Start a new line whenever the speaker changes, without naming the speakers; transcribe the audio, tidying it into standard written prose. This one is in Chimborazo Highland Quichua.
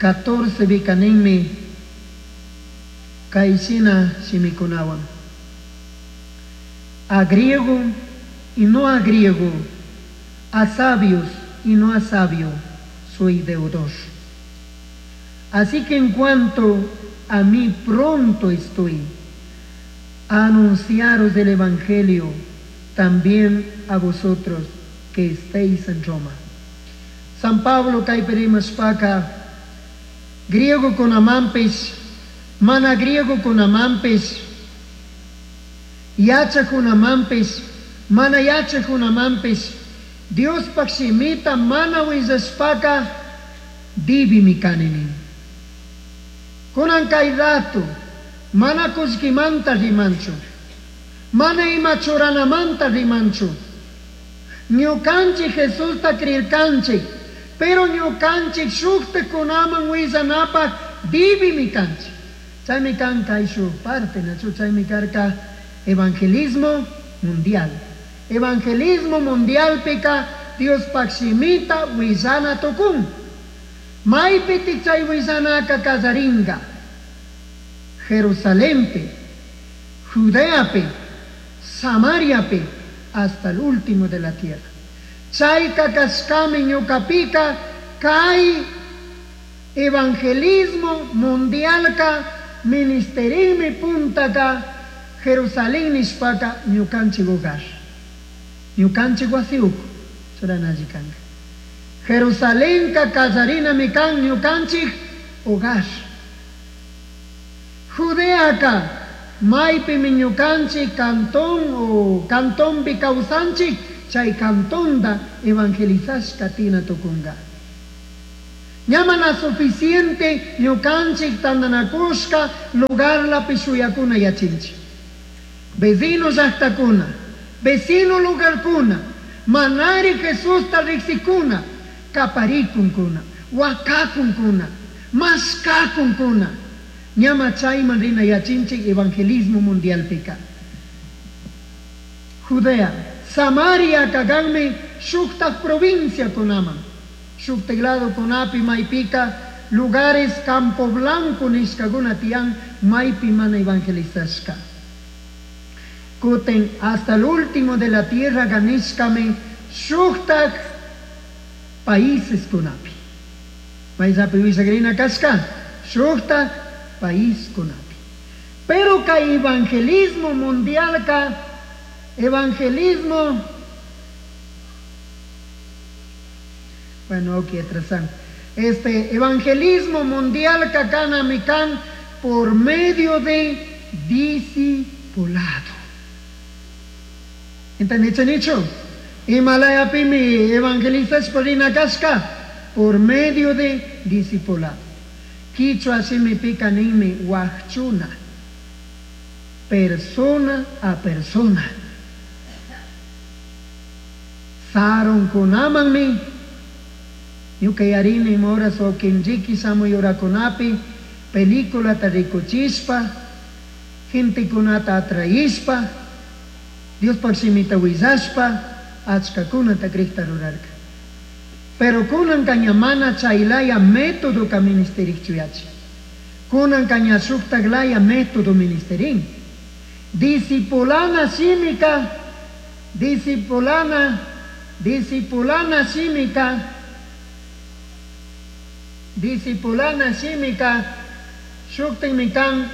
14 bikaninmi kayshina shimikunawan. A griego y no a griego, a sabios y no a sabio, soy deudor. Así que en cuanto a mí pronto estoy a anunciaros el Evangelio también a vosotros que estéis en Roma. San Pablo kaypi rimashpaka griegokunamanpish, mana griegokunamanpish, yachajkunamanpish, mana yachajkunamanpish, Diospaj shimita mana willashpaka dibimi kani nin. Kunan kay rato mana kullkimanta rimanchu, mana ima churanamanta rimanchu. Ñukanchik Jesusta creerkanchik, pero ñukanchik shuktakunaman willanapaj dibimi kanchik. Chaymi kan kay shuk parte, nachu chaymi karka evangelismo mundial. Evangelismo mundialpika Diospaj shimita willana tukun. Maypitik chay willanaka kallaringa. Jerusalempi, Judeapi, Samariapi, hasta el último de la tierra. Chayka kashkami ñukapika kay evangelismo mundialka ministerimi puntaka Jerusalén nishpaka ñukanchik hogar. Ñukanchik wasi uku churanalli kanka. Jerusalenka kallarinami kan ñukanchik hogar. Judeaka maypimi ñukanchik cantón o cantonpi kawsanchik chay cantonda evangelizashka tina tukunga. Ña mana suficiente ñukanchik tandanakushka lugarlapi shuyakuna yachinchik. Vecino llaqtakuna, vecino lugarkuna, manari Jesusta riqsikuna, kaparikunkuna, wakakunkuna, mashkakunkuna. Ñama chayman rina yachinchik evangelismo mundialpika. Judea, Samaria kaganmi shuktak provincia kunaman. Shuktak lado kunapi maypika lugares Campo Blanco nishkakuna tiyan maypi mana evangelizashka. Kutin hasta el último de la tierra ganishkami shuktak países kunapi. Mayllapi willakrina kashka shuktak país kunapi. Pero kay evangelismo mundialka, evangelismo, bueno, ok, atrasan. Este evangelismo mundial kanami kan por medio de discipulado. ¿Entendiste, Himalayapimi evangelizashpa rina kashka por medio de discipulado. Quichua shimipika ninmi wajchuna, persona a persona. Sarunkunamanmi ñuka yarini moras o kinriki samuyurakunapi peliculata rikuchishpa, gentekunata atraishpa, Diospaj shimita willashpa, achkakunata crikta rurarka. Pero kunanka ña mana chaylaya método ka ministerikchu yachi. Kunanka ña shuktaklaya método ministerin. Discipulana shimika, discipulana, discipulana shimika, discipulana shimika, shuktinmi kan.